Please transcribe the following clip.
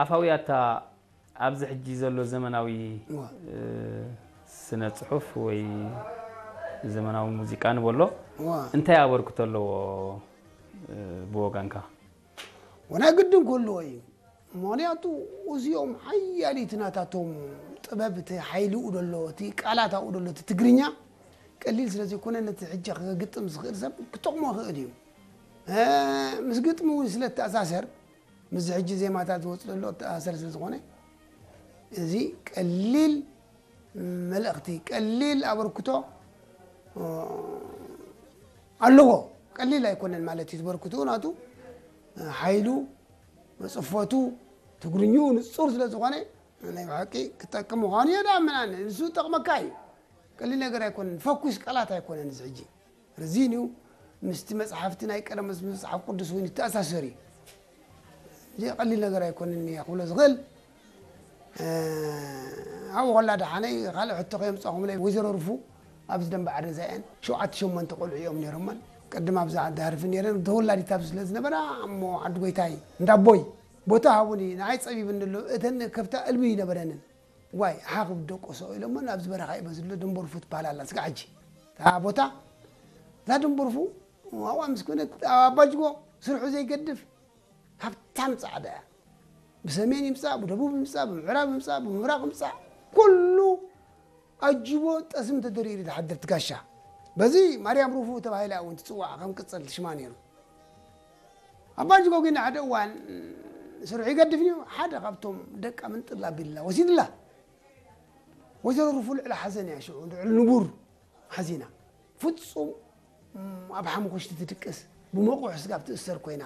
ኣፋዊ ኣታ ኣብዚ ሕጂ ዘሎ ዘመናዊ እዋ። ስነ ፅሑፍ ወይ ዘመናዊ ሙዚቃ ንበሎ እዋ። እንታይ ኣበርክቶ ኣለዎ ብወገንካ? ወናይ ግድን ክህልዎ እዩ። ምክንያቱ እዚኦም ሓያሊት ናታቶም ጥበብ እቲ ሓይልኡ ደሎ እቲ ቃላት ኣብኡ ደሎ እቲ ትግርኛ ቀሊል ስለ ዘይኮነ ነቲ ሕጂ ክግጥም ዝኽእል ሰብ ክጠቕሞ ይኽእል እዩ። እ፣ ምስ ግጥሚ እውን ስለ ተኣሳሰር ምስዚ ሕጂ ዜማታት ዝወፅ ዘሎ ተኣሳሰር ስለ ዝኾነ እዚ ቀሊል መልእኽቲ ቀሊል ኣበርክቶ እ፣ ኣለዎ። ቀሊል ኣይኮነን ማለት እዩ ዝበርክቱ ናቱ እ፣ ሓይሉ መፅፈቱ ትግርኝኡ ንፁር ስለ ዝኾነ ናይ ብሓቂ ክጠቅም ምዃኑ የዳምናን ንሱ ጠቕመካ እዩ። ቀሊል ነገር ኣይኮነን። ፈኩስ ቃላት ኣይኮነን እዚ ሕጂ ርዚን እዩ። ምስቲ መፅሓፍቲ ናይ ቀደም ምስ መፅሓፍ ቅዱስ እውን ይተኣሳሰር እዩ። እዚ ቀሊል ነገር ኣይኮነን እየ ክብሎ ዝኽእል። እ፣ ኣብኡ ከላ ደሓነይ ካልእ ሕቶ ከየምፃኹምለይ ወይዘሮ ርፉ ኣብዚ ደንበ ዓዲ ዛየን ሸውዓተ ሸሞንተ ቆልዑ እዮም ነይሮመን። ቅድም ኣብዚ ዓዲ ሃርፊ ነይረን ተወላዲት ኣብዚ ስለ ዝነበራ እሞ ዓዲ ጎይታይ እንዳቦይ ቦታ ሃቡኒ ንዓይ ፀቢብኒ ኣሎ እተን ከብታ እልቢ ይነበረንን ዋይ ሓኽብ ደቆሶ ኢሎሞ ኣብዚ በረኻ እዩ በዚ ዘሎ ድንበርፉ ትበሃል ኣላ ስጋ ሕጂ እታ ቦታ እዛ ድንበርፉ ኣብኣ ምስ ኮነ ኣባጅጎ ስርሑ ዘይገድፍ ሃብታም ፃዕዳ እያ ብሰሜን ይምፃእ ብደቡብ ይምፃእ ብምዕራብ ይምፃእ ብምብራቕ ይምፃእ ኩሉ ኣጅቦ ጠስሚ ተደሪሩ ዝሓድር ትጋሻ በዚ ማርያም ሩፉ ተባሂላ እውን ትፅዋዕ ከም ቅፅል ሽማ ነይሩ ኣባጅጎ ግን ሓደ እዋን ስርሑ ይገድፍ እዩ ሓደ ካብቶም ደቃ ምንጥላ ቢላ ወሲድላ ወይዘሮ ሩፉ ልዕሊ ሓዘን እያ ሽዑ ልዕሊ ንቡር ሓዚና ፍፁም ኣብ ሓሙኽሽቲ ትድቅስ ብመቑሕ ስጋብ ትእሰር ኮይና